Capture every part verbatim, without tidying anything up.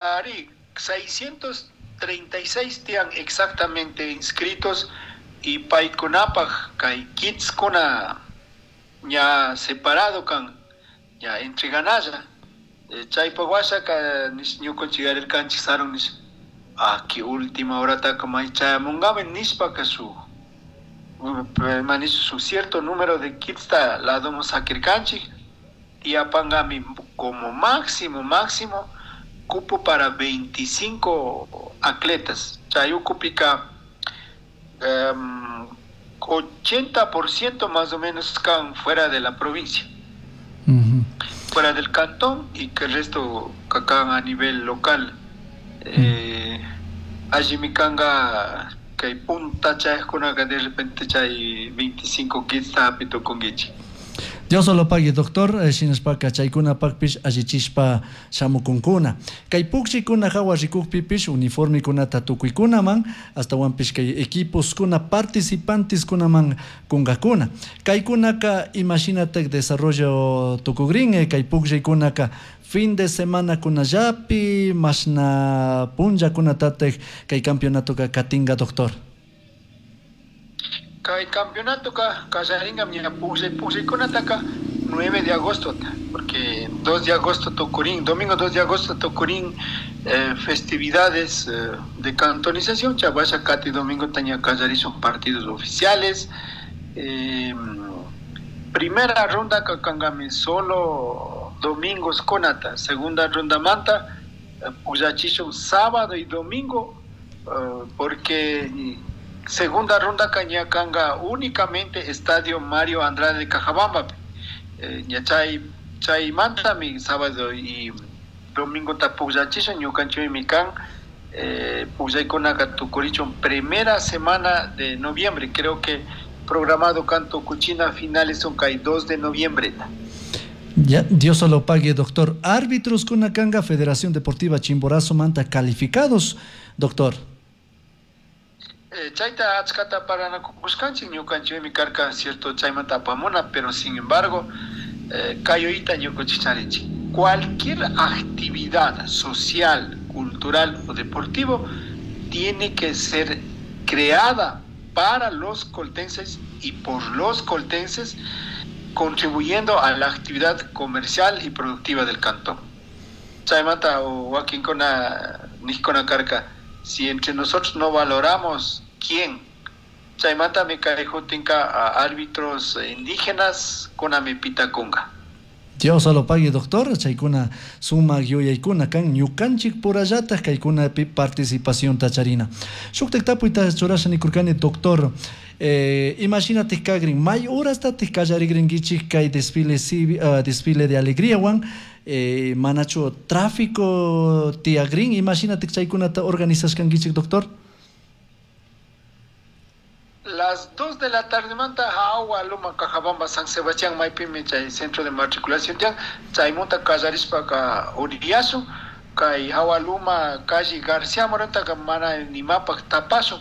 Ari, seiscientos treinta y seis tian exactamente inscritos y paykunapaj kay kitskuna ña separado kan, ña entreganalla. Eh, chaypa washaka ñukanchik yarirkanchik sarun nish, aquí última horataka may chayamungami nishpaka su, manish su cierto número de kitsta ladomo sakirkanchik y apangami como máximo, máximo cupo para veinticinco atletas. Chayukupika, um, ochenta por ciento más o menos están fuera de la provincia, Uh-huh. fuera del cantón, y que el resto cacan a nivel local. Eh, allí mi canga que hay punta chayajkunaka de repente chay veinticinco kits apito con guichi. Dios lo pague, doctor, eh, shinashpaka chaykunapakpish allichishpa shamukunkuna. Kay pukchikuna hawa rikukpipish uniformikunata tukuykunaman, astawanpish kay equiposkuna participanteskunaman kunkakuna. Kaykunaka imashinatak desarrollo tukugrin, eh, kay pukchaykunaka fin de semana kunallapi, mashna punllakunatatak kay campeonatoka katinga, doctor. Kay campeonato ka kallaringa ña pukllay pukllaykunataka nueve de agosto, porque dos de agosto tocurín, domingo dos de agosto tocurín, eh, festividades, eh, de cantonización, chavasha kati domingo taña kallari son partidos oficiales. Eh, primera ronda kakangami solo domingos konata, segunda ronda manta, eh, pukllachishun sábado y domingo, eh, porque segunda ronda cañacanga únicamente Estadio Mario Andrade de Cajabamba. Eh, ña chay, chay manta mi sábado y domingo ta pukllachisha ñukanchik mi kan, eh, pukllaykunaka tukurichun primera semana de noviembre, creo que programado canto cuchina finales son kay dos de noviembre. Ya, Dios lo pague, doctor. Árbitros kunakanga Federación Deportiva Chimborazo manta calificados, doctor. Eh, chayta achkata paranakushkanchik ñukanchikmi karka cierto chaymanta apamuna, pero sin embargo, eh, kayoyta ñukanchik charinchik. Cualquier actividad social, cultural o deportivo tiene que ser creada para los coltenses y por los coltenses, contribuyendo a la actividad comercial y productiva del cantón. Chaymanta o wakinkuna nijkuna karka, si entre nosotros no valoramos quién, chaymanta mi carejutinka a árbitros indígenas kunami pitakunga. Dios lo pague, doctor. Chaykuna sumak yuyaykuna kan ñukanchik purallataj kaykunapi participación tacharina. Shuktak tapuyta churasha nikurkani, doctor. Eh, imagínate kagrin, may horastatik kallarigrinkichik kay desfile civi-, uh, desfile de alegría wan, eh, manachu tráfico tiagrin, imagínate chaykunata organizashkankichik, doctor. Las dos de la tarde manta agua luma Cajabamba San Sebastián maipimi chay centro de matriculación tian chaymunta kallarishpa ka uriyasu kay agua luma calle García Morenta ka mana nimapak tapasu.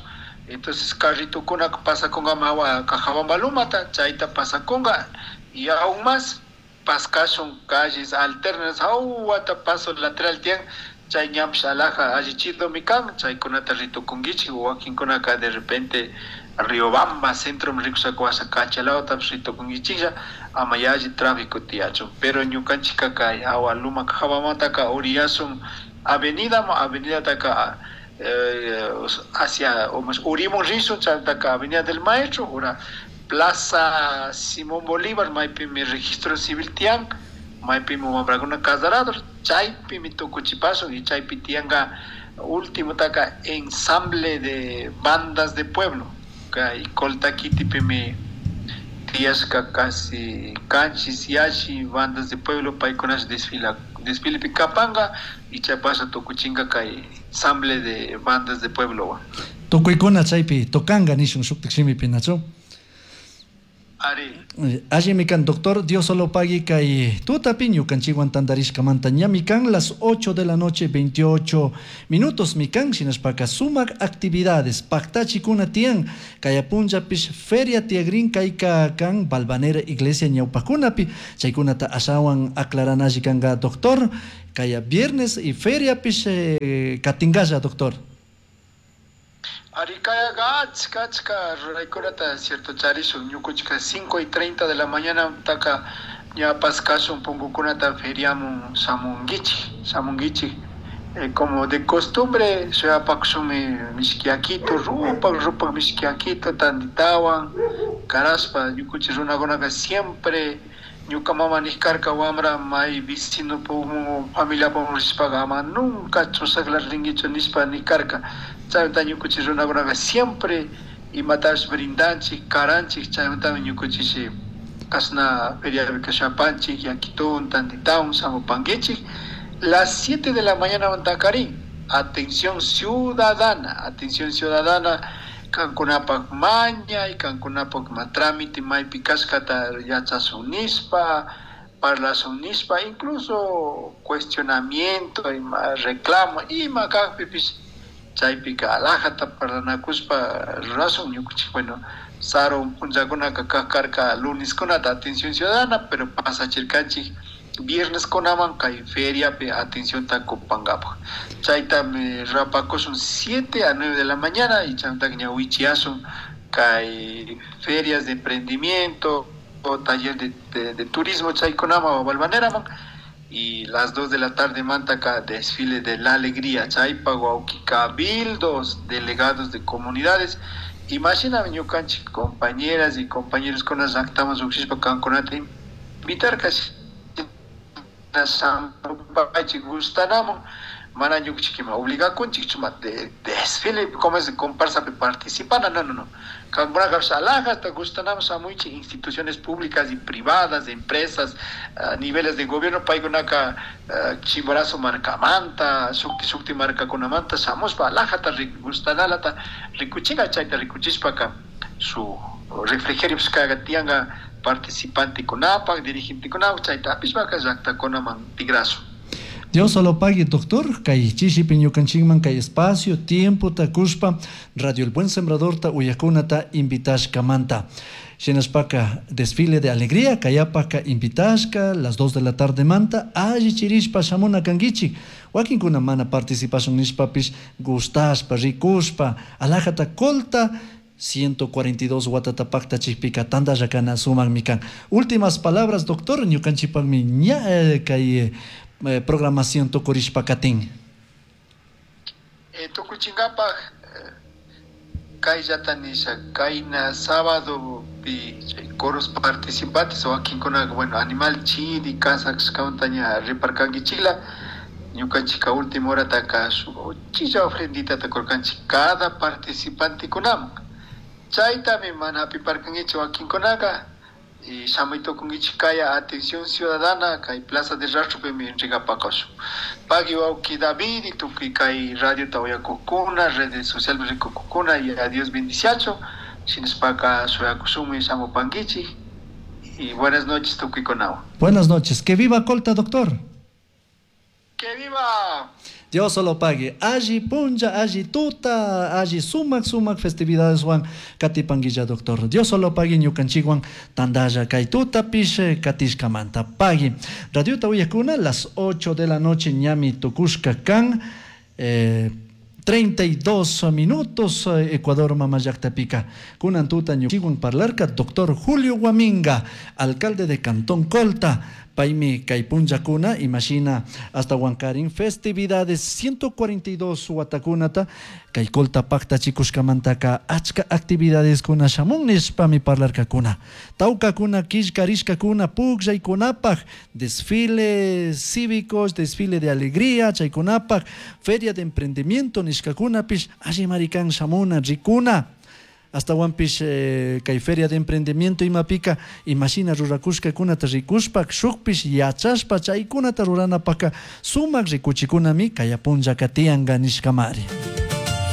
Entonces carrito kuna pasa con agua Cajabamba lumata chayta pasa conga y aún más pascasun calles alternas agua paso lateral tian chay ñam xalaja allichido mikan chay kunata rito kungichi wakin kunaka de repente Riobamba, centro rikusakuasa kachalao rito kungichilla amayaji tráfico tiacho pero ñukanchika kay agua luma Cajabamata uriyasun avenida avenida taka, eh, hacia o más Urimun Rizo, chantaka avenida del Maestro, ura Plaza Simón Bolívar, maipi mi registro civil tian, maipi mi mambraguna casarador, chaypi mi tucuchipaso y chaypi tianga último taka ensamble de bandas de pueblo, kay coltaquitipi mi tiasca casi canchis yashi bandas de pueblo paikunas desfila desfile picapanga y chapasa tucuchinga kay ensamble de bandas de pueblo. Tukuykuna chaypi tocanga nishun shuktak shimipi, Nacho. Ari. Allimi kan, doctor, Dios solo pague kay tutapi ñukanchikwan tantarishkamanta ñami kan las ocho de la noche veintiocho minutos mikan shinashpaka sumak actividades paktachikuna tiyan kayapunllapish feria tiagrin kayka kan Balvanera iglesia ñawpakunapi chaykunata ashawan aclaranashi kanka doctor kaya viernes y feriapish eh, katingalla doctor. Arikayaga achka achka ruraykunata cierto charishun ñukuchika cinco y treinta de la mañana taka ñapas kashun punkukunata feriamun shamunkichik shamunkichik eh, como de costumbre shuyapakushunmi mishkiakito rupak rupak mishkiakito tanditawan karashpa ñukuchik runakunaka siempre ñuka mama nijkarka wamra may vecino pumu familia pumu rishpaqa ama nunca chusakla rinkichu nishpa nijkarka chaymanta ñukuchik runakunaqa siempre imatapish brindanchik karanchik chaymantami ñukuchik kashna feriapi kashapanchik yakitun tanditawan shamupankichik las siete de la mañana mantakarin atención ciudadana atención ciudadana kankunapak maña y kankunapak ma trámite maypi kashkata yachasun nishpa parlasun nishpa incluso cuestionamiento ima reclamo ima kajpipish chaypika alajata parlanakushpa rurasun ñukuchik bueno sarun punllakunaka kaj karka luneskunata atención ciudadana pero pasachirkanchik viernes kunaman kay feriapi atención kupankapaj chaytami rapakushun siete a nueve de la mañana y chaymantaka ña wichiyasun kay ferias de emprendimiento o taller de, de, de turismo chaykunaman o Balvaneraman y las dos de la tarde mantaka desfile de la alegría chaypa wawki cabildos delegados de comunidades imagina ñukanchik compañeras y compañeros con las llaqtaman lluqshishpa kankunata invitar casi sampaychik gustanamun mana ñukuchikima obligakunchik chuma de desfile como es comparsapi participana no no no kankunaka alajata gustanamun shamuychik instituciones públicas y privadas empresas uh, niveles de gobierno paykunaka uh, Chimborazo markamanta shukti shukti markakunamanta shamushpa alajata gustanalata rikuchinga chayta rikuchishpaka su refrigerio kaga tiyanka participante kunapak dirigente kunapak chayta apishpaka llaqtakunaman tigrasun. Dios solo pague, doctor, kay chishipi ñukanchikman kay espacio, tiempo takushpa, Radio El Buen Sembrador ta uyakunata invitashkamanta. Shinashpaka desfile de alegría, kayapaka invitashka, las dos de la tarde manta, alli chirishpa shamuna kankichik. Wakinkuna mana participación nishpapish gustashpa, rikushpa, alajata colta, ciento cuarenta y dos watatapakta chikpika tanda yakana sumak mikan. Últimas palabras, doctor, ñukanchipakmi ña eh, kay eh, programación tukurishpa katin. Eh, tukuchinkapaj eh, kayllata nisha kayna sábado pi coros participantes wakinkunaka bueno animal chiri kasakshkamanta ña riparkankichikla ñukanchika última horataka shuk uchilla ofrenditata kurkanchik cada participante kunaman chaytami mana hapiparkankichik wakinkunaka y shamuy tukunkichik kaya atención ciudadana kay plaza de Rastropimi entregapakushun pagui wawki David y tukuy kay radio uyakuqkuna redes sociales rikuqkuna y a Dios bendiciacho shinashpaka shuyakushunmi shamupankichik y buenas noches tukuykunawan. Buenas noches, que viva Colta, doctor. Que viva. Dios solo pague. Allí punja, allí tuta, allí sumac, sumac festividades wan katipanguilla, doctor. Dios solo pague ñukanchikwan tandalla kay tuta pish katishkamanta pague. Radio Tawiyakuna, las ocho de la noche ñami tukushka kan. Eh, treinta y dos minutos, Ecuador Mamallactapica. Kunan tuta ñukanchikwan parlarka doctor Julio Guaminga, alcalde de Cantón Colta. Paimi kaypunllakuna, imagina hasta Huancarín, festividades ciento cuarenta y dos watakunata, kay Colta pakta chikushkamantaka achka actividades kuna shamun nishpami parlarkakuna. Tawkakuna, killkarishkakuna, pukllaykunapaj, desfiles cívicos, desfile de alegría, chaykunapaj, feria de emprendimiento nishkakunapish, alli marikan shamuna, rikuna. Hasta Huampish, eh, kay feria de emprendimiento imapika, imagina rurakushkakunata rikushpa, shukpish yachashpa chaykunata ruranapaka sumak rikuchikunami kayapunlla katiyanka nishkamari.